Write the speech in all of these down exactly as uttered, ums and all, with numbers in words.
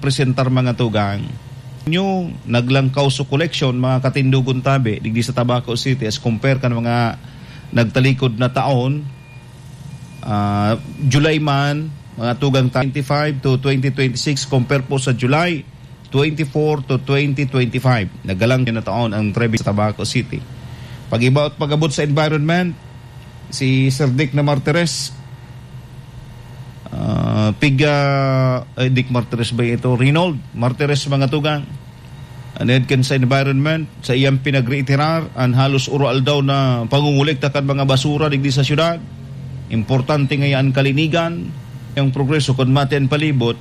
presentar, mga tugang. Nyo, naglangkaw sa koleksyon, mga katindogon tabi, digdi sa Tabaco City, as compare kan mga nagtalikod na taon, ah, July man, mga tugang, twenty-five to twenty twenty-six, compare po sa July twenty-four to twenty twenty-five. Nagalang na taon ang Trevi sa Tabaco City. Pag-iba at pag-abot sa environment, si Sir Dick na Martires, ah, piga, ay, Dick Martires ba ito? Reynold Martires, mga tugang. An head kan sa environment, sa iyang pinagreiterar, an halos uro-aldaw na pangungulekta kan mga basura digdi sa syudad. Importante ngaya an kalinigan, ang progreso kun mati an palibot,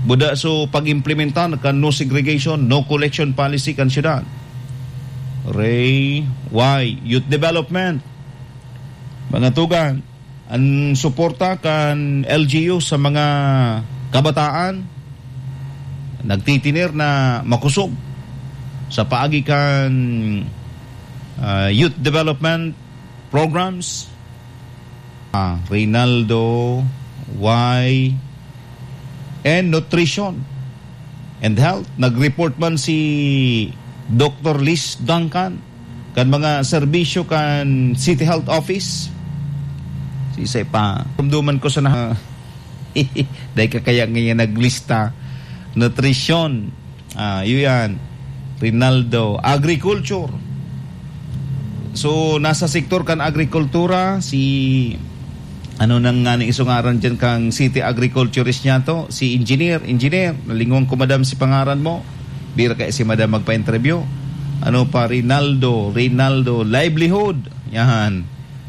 buda so pag-implementar kan no segregation, no collection policy kan syudad. Ray, why? Youth development. Mga tugang, an suporta kan L G U sa mga kabataan nagtitinir na makosog sa paagi kan, ah, youth development programs. Ah, Reynaldo, why? And nutrition and health. Nag-report man si Doctor Liz Duncan kan mga serbisyo kan City Health Office. Sisay pa. Rumduman ko sa na-, dahil ka kaya ngayon naglista. Nutrition. Ah, yun yan. Rinaldo. Agriculture. So, nasa sektor kan agrikultura, si, ano nang nga ni isungaran dyan kang city agriculturist niya to? Si engineer, engineer. Nalingon ko, madam, si pangaran mo. Bira kaya si madam magpa-interview. Ano pa, Rinaldo, Rinaldo, livelihood. Yan.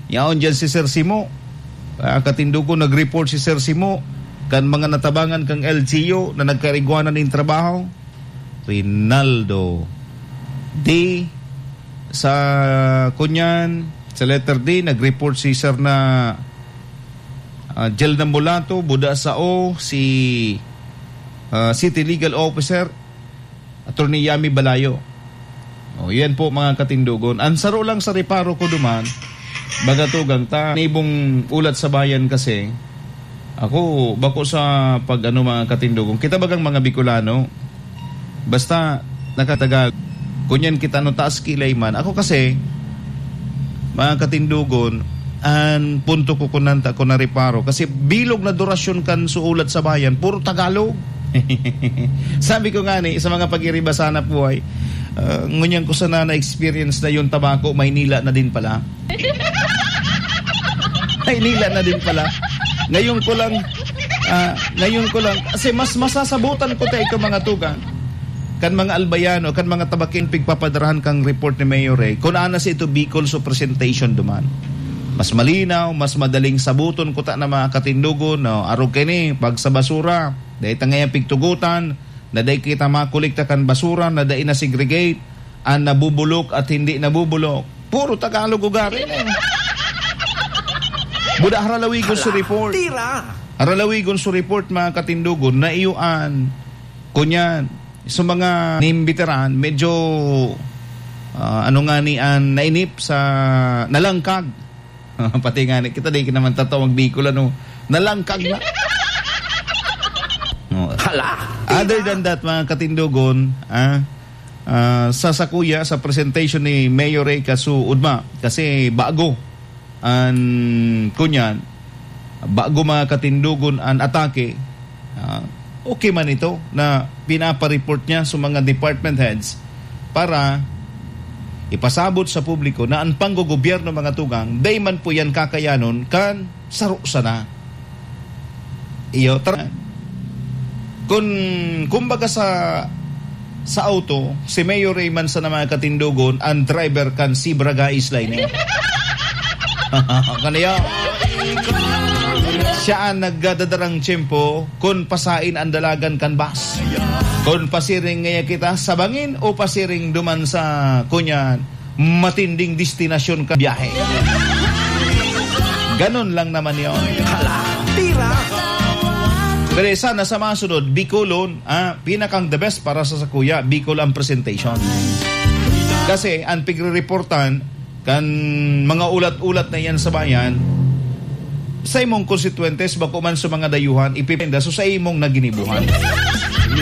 Yaon dyan si Sir Simo. Ah, katindugo, nag-report si Sir Simo kan mga natabangan kang L G U na nagkarigwanan nin trabaho. Rinaldo. D, sa kunyan, sa letter D, nag-report si Sir na, ah, Jel Nambulato, buda sa O, si, ah, City Legal Officer, Attorney Yami Balayo. O, yan po, mga katindugon. Ang saro lang sa reparo ko duman, baga tugang ta, nibong ulat sa bayan kasi, ako, bako sa pag-ano, mga katindugon. Kita bagang mga Bicolano, basta nakatagag, kunyan kita no taas kilay man. Ako kasi, mga katindugon, an punto ko kunanta ko na reparo. Kasi bilog na durasyon kan suulat sa bayan, puro Tagalog. Sabi ko nga ni, sa mga pag-iriba sana po ay, ah, ngunyan ko sana na-experience na yung Tabaco, Maynila na din pala. Maynila na din pala. Ngayon ko lang, ah, ngayon ko lang, kasi mas masasabutan ko tayo ito, mga tugang, kan mga Albayano, kan mga Tabaqueño, pigpapadarahan kang report ni Mayor Ray, kung ana sa ito Bicol, so presentation duman. Mas malinaw, mas madaling sabuton ko ta na mga katindugon, no? Arog kayo ni, pag sa basura, dahil ta ngayon pigtugutan, na dahil kita makolekta kan basura, na dahil na-segregate, an nabubulok at hindi nabubulok. Puro Tagalog ugari mo. Buda haralawigon sa report. Tira! Haralawigon sa report, mga katindugon, na iyo an, kunyan, sa mga nimbitaran, medyo, ah, ano nga ni an nainip sa nalangkag. Pati nga ni, kita di naman tataw magbikol, ano, nalangkag na. No. Hala! Other than that, mga katindugon, ah, ah, sa sakuya, sa presentation ni Mayor Ray Kasu Udma, kasi bago an, kunyan, bago mga katindugon an atake, ah, okay man ito na pinapareport niya sa mga department heads para ipasabot sa publiko na ang panggogobyerno, mga tugang, dai man po yan kakayanon kan saro sana. Iyo, tar-, kun, kumbaga sa, sa auto, si Mayor Raymond sa mga katindugon, ang driver kan Zebra Guys Line, eh. Kaniya, siya ang nagdadadrang tiyempo kun pasain ang dalagan kan bus. Kun pasiring ngaya kita sa bangin o pasiring duman sa, kunyan, matinding destinasyon ka biyahe. Ganon lang naman yon. Hala, tira! Pero sana sa masunod, Bicolon, ah, pinakang the best para sa sakuya, Bicol ang presentation. Kasi ang pigre-reportan kan mga ulat-ulat na yan sa bayan, sa imong konstituentes, bako man sa mga dayuhan, ipipinda so sa imong naginibuhan.